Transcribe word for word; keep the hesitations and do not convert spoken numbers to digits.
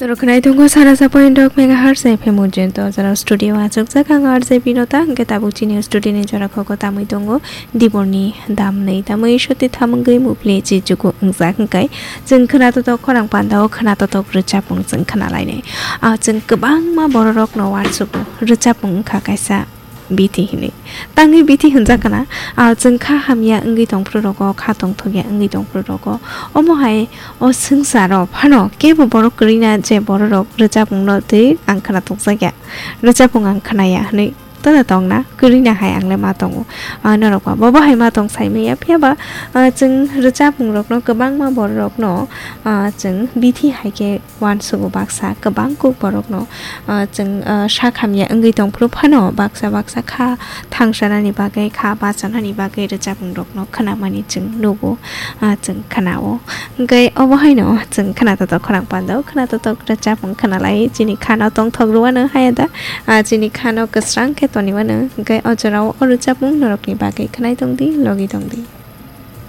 Rwkhnai tongo sara sapoin dok megahertz F M ujento jora studio achukjak ang R J Binota, hwnkhe tabuk chini studio ni jora khogo tamwi tongo Diborni damnwi tamwi soti thamungwi mupli chichugo wngjak hwnkhe chwng khwnatotok khorang pandao khwnatotok rwchapmung chwng khwnalainai. Ah, chwng kwbangma bororokno uansugo rwchapmung wngkha kaisa bithi hinwi. Tangwi bithi hwnjak kana, ah, chwng kha hamya wngwi tongphuru rogo, kha tongthokya wngwi tongphuru rogo. Omo hai o swngcharo phano kebo borok kwrwina je bororok rwchapmungno twi ang khwna tongjakya, rwchapmung ang khwnaya hinwi tono tongna kwrwina hai ang le ma tongo. Ah, norok ba bobo hai ma tong sai manya, phiya ba, ah, chwng rwchapmung rokno kwbangma bororokno, ah, chwng bithi hai khe uansugo baksa kwbang kuk borokno, ah, chwng, ah, sak hamya wngwi tongphuru phano baksa baksa kha thangsanani bagwi, kha bachanani bagwi rwchapmung rokno khwnamani chwng nugo, ah, chwng khwnao. Hwnkhe obo haino chwng khwnatotok khorang pandao, khwnatotok rwchapmung khwnalai chini khano tongthok rwano haya da, ah, chini khano kwsrang khe toniwano. Hwnkhe o jorao o rwchapmung norokni bagwi khwnai tongdi, logi tongdi.